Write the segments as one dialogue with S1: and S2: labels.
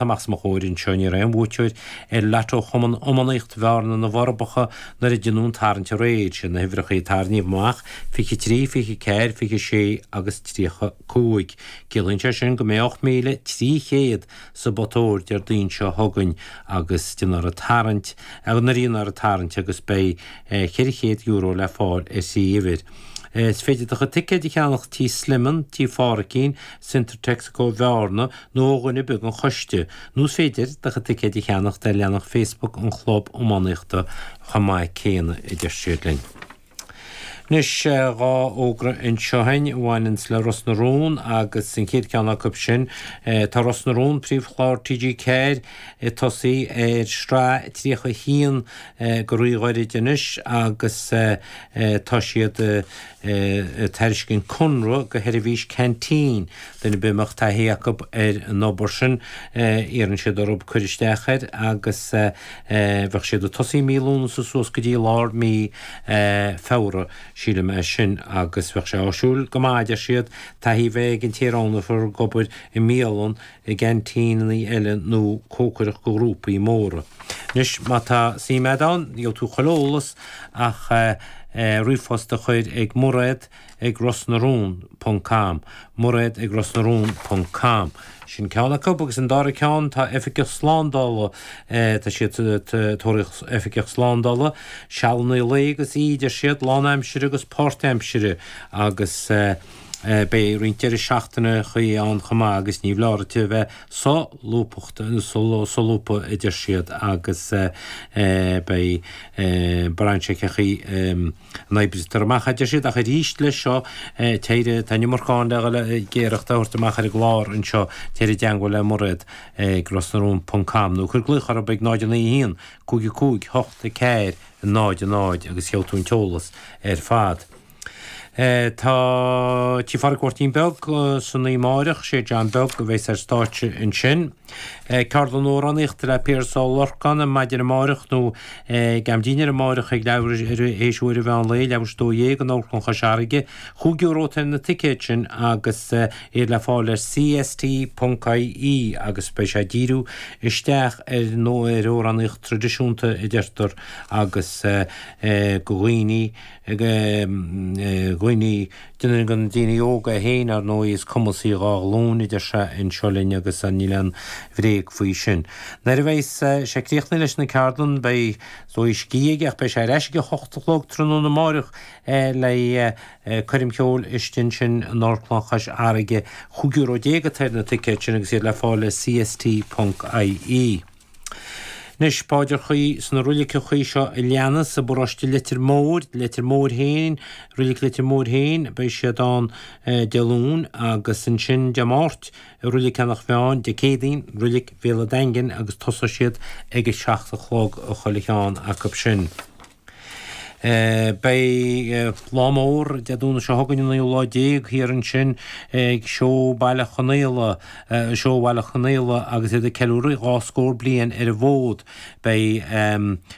S1: Amach os mo chomhair anseo ní raibh aon bhuaiteoir ar Lotto Chumann Iománaíocht Bhearna na bhForbacha nuair a deineadh an tarraingt aréir. Siad na huimhreacha a tarraingíodh amach, 23, 24, 26 agus 35. Ciallaíonn sé sin go mbeidh 8,300 sa bpota óir Déardaoin seo chugainn agus déanfar an tarraingt, nuair a dhéanfar an tarraingt agus beidh €400 le fáil ar thrí uimhir. Is féidir do chuid ticéid a cheannach Tí Sliman, Tí Phádhraic, Centre Texaco Bhearna nó ó dhuine ar bith den choiste, nó is féidir do chuid ticéid a cheannacht ar leathanach Facebook an Chlub Iománaíochta chomh maith céanna, a deir siad linn. Anois, dhá fhógra anseo againn a bhaineanns le Ros na Rún agus an chéad cheann acu sin, tá Ros na Rún, príomhchlár TG4, ag tosaí ar shraith 31 go ríghairid anois agus tá siad ag tairiscint conradh do sheirbhís canteen. Duine ar bith a mbeadh taithí acu ar an obair sin, iarrann siad orthu cur isteach air agus bheadh siad ag tosaí mí Lúnasa suas go dtí lár mí Feabhra, sílim é sin, agus bheadh sé áisiúil go maith, a deir siad, taithí a bheith ag an té a roghnófar ag obair i mbialann, i gceaintíneanna eile nó cócaireacht do ghrúpaí móra. Anois, má tá suim agat ann, gheobhaidh tú chuile eolas ach ríomhphost a chur ag Mairéad ag rosnarún ponc com, Mairéad ag rosnarún ponc com. Sin ceann acu agus an dara ceann tá oifigeach slándála, tá siad ag tóraíocht oifigeach slándála, sealanna lae agus oíche a deir siad, lánaimsire agus páirtaimsire agus beidh roinnt deireadh seachtaineachaí ann chomh maith agus ní foláir duit a bheith solúbtha, solúbtha a deir siad agus beidh braitheann sé cé chaoi a n-oibrítear amach, a deir siad, ach arís leis seo, téir, tá an iomarca ann le dhul ag iarracht a thabhairt amach ar an gclár anseo, téir i dteangmháil le Mairéad ag rosnarún ponc com nó cuir glaoch orthu ag 0 9 1 5 5 8 4 0 0 agus gheobhaidh tú an t-eolas ar fad. Tá Tigh Phádraig Mháirtín Beag san oíche amáireach, sé John Beag a bheas ar stáitse ansin. Ceardlann amhránaíochta le Piaras Ó Lorcáin ar maidin amáireach nó ag am dinnéir amáireach ag leathuair tar éis uair an mheán lae, leathuair tar éis a 12 in Amharclann Chois Fharraige. €5 atá ar na ticéid sin agus iad le fáil ar cst.ie agus beidh sé ag díriú isteach ar ar amhránaíocht traidisiúnta a deirtear agus go dhaoine ag dhaoine, déanann na daoine óga féin, ar ndóigh, is cumasaí dhá ghlúin, a deir sé anseo linn agus níl aon bhréag faoi sin. Nuair a bheas sé críochnaithe leis na ceardlann, beidh is dóigh scíth aige ach beidh sé ar ais ag a hocht a chlog tráthnóna amáireach le coirm cheoil istigh ansin in Amharclann Chois Fharraige. €15 atá ar na ticéid sin agus iad le fáil ar cst.ie. Anois, paidreachaí sna roiliceachaí seo a leanas i bparóiste Leitir Móir, Leitir Móir féin, Roilig Leitir Móir féin, beidh siad ann Dé Luain agus ansin Dé Máirt i Roilig Eanach Mheáin, Dé Céadaoin, Roilig Bhéal an Daingin agus tosóidh siad ag a seacht a chlog chuile cheann acu sin. Beidh lá mór Dé Domhnaigh seo chugainn, an naoú lá déag, thiar ansin ag Seó Bhaile Chonaola, Seó Bhaile Chonaola agus iad ag ceiliúradh dhá scór bliain ar an bhfód. Beidh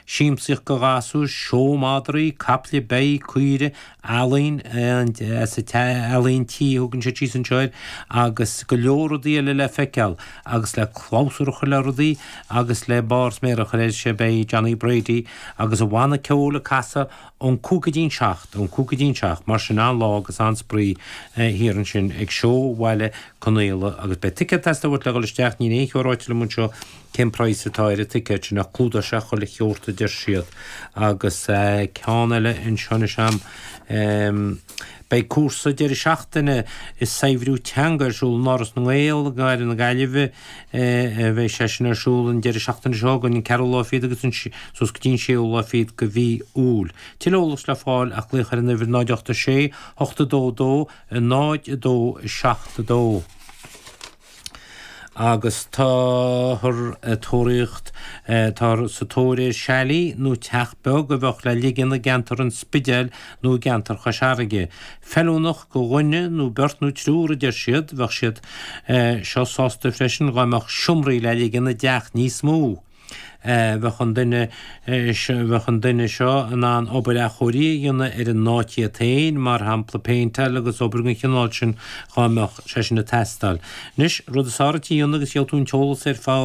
S1: siamsaíocht do ghasúir, seó madraí, caiple, beithígh, caoire, ealaín, ealaín tí a thugann siad síos anseo air, agus go leor rudaí eile le feiceáil agus le clabhsúr a chur le rudaí agus le barr sméara a chur air sé beidh Johnny Brady agus a bhanna ceoil ag casadh ón cúig go dtí'n seacht, ón cúig go dtí'n seacht, mar sin an-lá agus an-spraoi thiar ansin ag Seó Bhaile Conaola agus beidh ticéad ag teastáil uait le dhul isteach, níl aon cheo ráite liom anseo Cén praghas atá ar an ticéad sin ach clúdóidh sé chuile sheort a deir siad. Agus ceann eile anseo anois a'm. Beidh cúrsa deireadh seachtaine i saibhriú teanga ar siúl in Áras na nGael i gCathair na Gaillimhe. Beidh sé sin ar siúl an deireadh seachtaine seo chugainn, an ceathrú lá fichead agus an suas go dtí an séú lá fichead de mhí Iúil. Tuilleadh eolais le fáil ach glaoch ar an uimhir 0 8 6 8 2 2 0 2 7 2. Agus táthar ag tóraíocht, táthar sa tóir ar chalet nó teach beag a bheadh le ligean i gceantar an Spidéil nó i gceantar Chois Fharraige. Feiliúnach do dhuine nó beirt nó triúr, a deir siad. Bheadh siad seo sásta freisin dá mbeadh seomraí le ligean i dteach níos mó. Bheadh an duine bheadh an duine seo in ann obair athchóirithe a dhéanamh ar an áit iad féin, mar shampla péinteáil agus obair den chineál sin dhá mbeadh sé sin ag teastáil. Anois, rud is fearr duit a dhéanamh agus gheobhaidh tú an t-eolas ar fad.